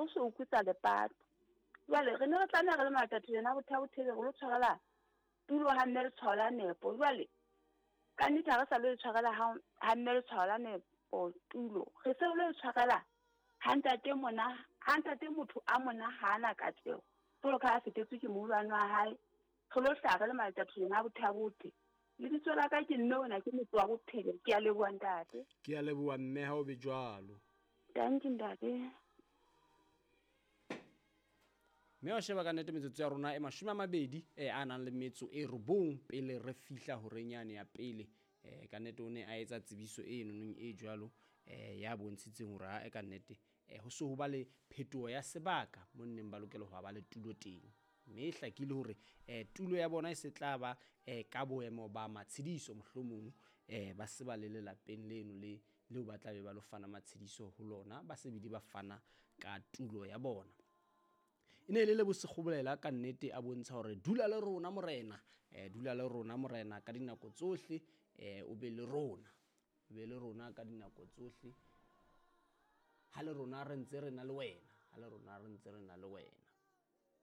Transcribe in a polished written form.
Mmuso o kutsa lepato. Jwale re ne re tlameha re le Matatholeng a Botha-Bothebe re lo tshwarela tulo ha mme letshwao la nepo. Jwale ka nnete ha re sa lo e tshwarela ha ha mme letshwao la nepo tulo, re se re lo e tshwarela ha ntate mona ha ntate motho a mona ha ana katleho. Jwalo ka ha a fetetswe ke moholwane wa hae, re lo hlaha re le Matatholeng a Botha-Bothe. Lebitso la ka ke mme ona ke motse wa bophelo. Ke a leboha ntate. Ke a leboha mme ha o be jwalo. Dankie ntate. Mme wa sheba ka nnete metsotso ya rona e 20 a nang le metso e 9 pele re fihla horeng yane ya pele. Ka nnete o ne a etsa tsebiso e nonong e jwalo ya bontshitseng hore ha e ka nnete ho se ho ba le phetoho ya sebaka mo nneng ba lokela ho ba le tulo teng. Mme e hlakile hore tulo ya bona e se tla ba ka boemo ba matshediso mohlomong ba se ba le lelapeng leno le leo ba tla be ba lo fana matshediso ho lona, ba se bile ba fana ka tulo ya bona. E ne e le Lebo Sekgobolela ka nnete a bontsha hore dula le rona morena, dula le rona morena ka dinako tsohle, o be le rona, o be le rona ka dinako tsohle. Ha le rona re ntse re na le wena, ha le rona re ntse re na le wena.